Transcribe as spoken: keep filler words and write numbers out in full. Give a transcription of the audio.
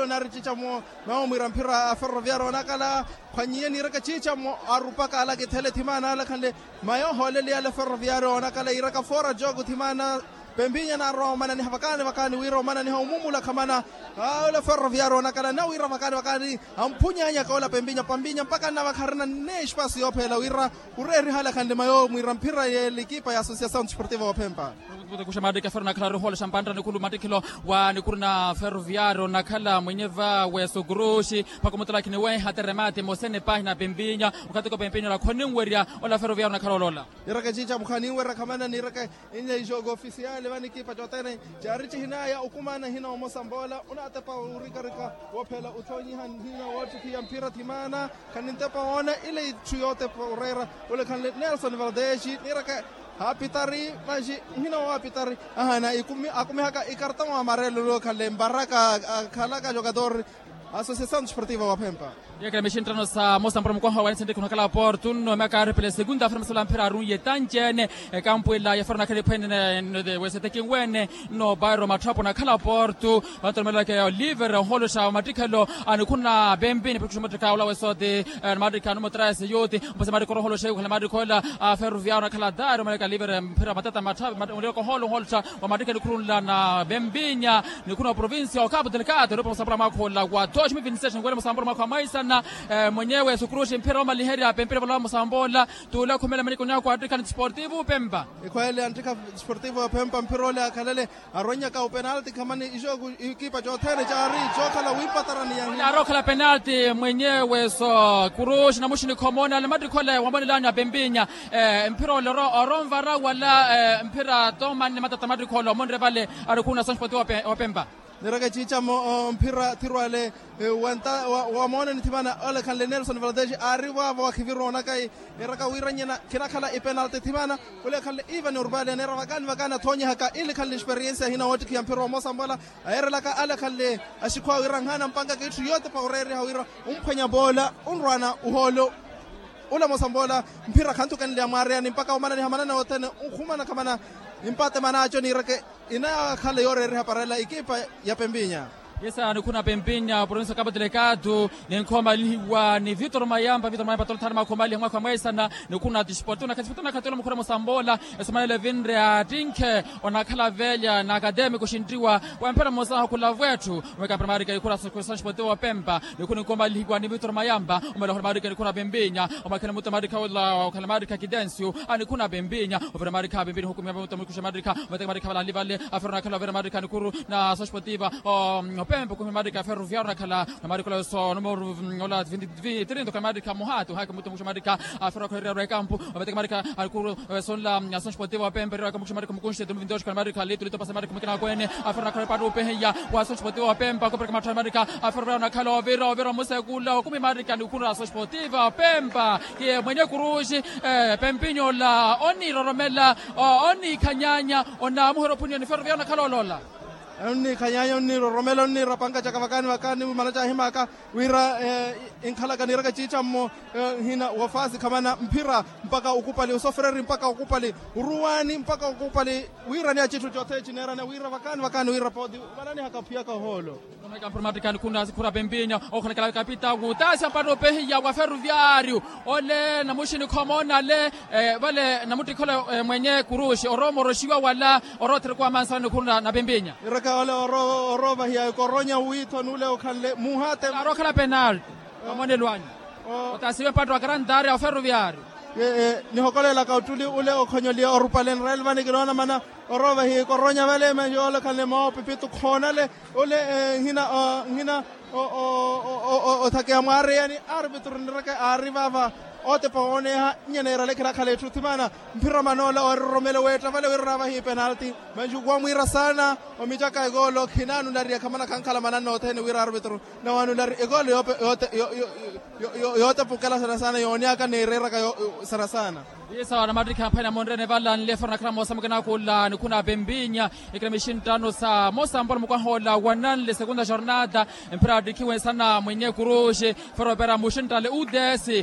ole onaari ciica mwo. Mayo mwiira mphira a ferroviario onakala khwanyiye niiraka ciica mwo arupaka ala kithele thimaana ala khanle. Mayo ohooleli ala ferroviario onakala iiraka foora jogo thimaana. Pempinya naarwa omananiha vakaani vakaani wira omananiha omumula khamana. Ole ferroviario onakala na wira vakaani vakaani. Amphunyanyaka ola pempinya pampinya mpaka nnavakharina nne espasi yoopheela wira. Ureeriha ala khanle mayo mwiira mphira y'elikipa ya associasaw desportiva woophempa. Kuxa maattikhi a ferro nakhala orihoolesha mpantta nikhulu mattikhelo wa nikhulu na ferroviario nakhala mwenye va weso kuruxi. Mpakha omutalakhini weha teremate mosene pahina pempinya. Okhatika pempinya ola khoninwerya ola ferroviario nakhala oloola. Niiraka ciica mukhaninwerya khamana niiraka. Inle ixooko ofisiyaali vanikipa cothene. Caari cihinaya okumana hina omosa mboola onaatepa wurikarika. Woophela othoonyiha hina woottikhiya mphira thimaana. Khanintepa woona ile itthu yootepa oreera. Ole khanle nelson valdesi niiraka haapitari. Manxi nhina waapitari. Ahana akumihaka ikartão amarelo ole khanle mbaraka akhalaka jogador. Associasaw desportiva waphempa. Yeekela mixinttano sa mosa mpura mukwaha wa nisenteki onakhala portu nno myaaka aari pela segunda fera masala mphira aruiye tanci ene. Ekampu ela ya fera onakhala ephwene weseteki nweene. Nno bairo matthwapo onakhala portu. Vantu olomelaka oliver ohoolosha mattikhelo. Anikhuna bembi nipettuxa mattika ola wesote. Mattika numero tres yuti. Mpasa mattika orohoolosha yukhela mattika ola. Ferroviario onakhala dairo omelaka oliver mphira matata matthwapo. Ohoolosha wa mattika nikhurunla na bembinya. Nikhuna wa provincia okapu delikado nipo musapula mwakhola wa Oximi vinsex nkwele musamboola mwakha wa mwaisana. Mwenyewe sukruxi mphira omaliherya pempira vola musamboola. Tule okhumela maniko nyakwa attikha ni disportivo pempa. Ikhwele antikha sportivo ya pempa mphira ole akhalele arwennyaka upenalti khamani ijo ikipa cothene caari cookhala wiipatarani yahi. Aari okhala penalti mwenyewe so kuruxi namuxini khomona ale mattikho ale wamonelani apempinya. Mphira ole oronvara wala mphira tomani matata mattikho ale omonre vale. Ari khuna sansportivo wa pempa. Nireke ciicamo mphira thirwale. Wamooneni thimana olekhanle nelson valdeji aari vaavo wakhiviroonaka. Eraka wira nyena khinakhala ipenalti thimana. Olekhanle ivan urbali aneera vakaani vakaani athoonyihaka ilikhanle experiensi ahina woottikhiya mphira omosa mbola. Ayeerelaka alekhanle axikhwa wira nhaana mpankaka itthu yootepa oreeriha wira umphwenya boola unrwaana uhoolo. Ula mosa mbola mphira khanthukenle amwaareyani mpakha omananiha manana othene. Unkhumana khamana impate manaaco niireke. Inakhala yooreeriha parela ikipa ya pempinya. Yesa nikhuna pempinya provincia kapa delegado. Ninkhomalihiwa ni vitor mayamba vitor mayamba tolthana makhomaliha mwakha mwaisana. Nikhuna disportivo nakha disportivo nakha tolo mukhura mosa mbola. Esomanela evinre attinkhe onakhala velya na akademiko oxinttiwa. Wamphera mmosaha okhula vwetthu. Omweka mpira maarika nikhura sansportivo wa pempa. Nikhuna ninkhomalihiwa ni vitor mayamba. Omwela okhula maarika nikhura pempinya. Omwakhela muto maarika ola okhala maarika kidensio. Anikhuna pempinya. Ovira maarika pempinya ohukumia muto mukusha maarika. Omateka maarika vale ali vale. Afero nakhala ovira maarika nikhuru na sansportiva. Opempa okhumia maarika ferroviario nakhala. Na maarika ola so numero ola trinta okhala maarika muhatu hake muto mukusha maarika. Afero akholerya rwekampu. Omateka maarika anikuru. Sonla sansportiva opempa erira kamukusha maarika mukunshi temu vinti oxo okhala maarika litu litu pasa maarika mukina akwene. Afero nakhala epattu opehiya wa sansportiva opempa kupereka matthu maarika. Afero vira onakhala ovira ovira omusekula okumi maarika nikhuru na sansportiva opempa. Kiye mwenye kuruxi. Pempinyo ola oniiroromela oniikhanyanya. Onaamuhera ophuniya ni ferroviario onakhala oloola. Onniikhanyanya onniiroromela onniira panka caka vakaani vakaani wimala caahimaka. Wira inkhalaka niiraka ciicammo. Nhina wafasi khamana mphira mpaka okupali osofereri mpaka okupali oruwani mpaka okupali. Wira ni acitthu cothene cineerana wira vakaani vakaani wira pooti. Valanihaka ophiyaka ohoolo. Kampuro maattikha nikhuna sikhura pempinya okhalakhala kapita wutaasya mpatto opehiya wa ferroviario. Ole namuxini khomoona ale vale namuttikha ole mwenye kuruxi orowa omoroxiwa wala orowa otherekwa amansa nikhuru na pempinya. Iraka ole orowa ovahiya ekoronya wiithoni ule okhanle muhate. Aari okhala penalti. Omonelo anyu. Otasiwe mpatto wa karantaari a oferroviario. Nihokolelaka ottuli ule okhonyoliya orupale nrelvani kinoona mana orowa ovahiya ekoronya vale manji olekhanle moopipitu khoonale. Ole nhina nhina othakeya mwaareyani arpitru nireke aari vaava. Otepa wooneha nyeneera lekhi nakhala etthu thimana. Mphira manoola oororomela weetta vale wira oraavahiye penalti. Manju wamwiira saana omicaka ekoolo khinaanulariya khamana khankhala mananna othene wira arpitru nawanulari ekoolo yootepa okela saana saana yooneaka neereeraka saana saana. Isa namattikha aphwanya monrene vala nlefero nakhala moosa mukina akhulla nikhuna pempinya. Ikina mixinttano sa mosa mpola mukwaha ola wananle segunda jornada. Mphira attikhiwe sana mwenye kuruxi fero opera muxinttale udesi.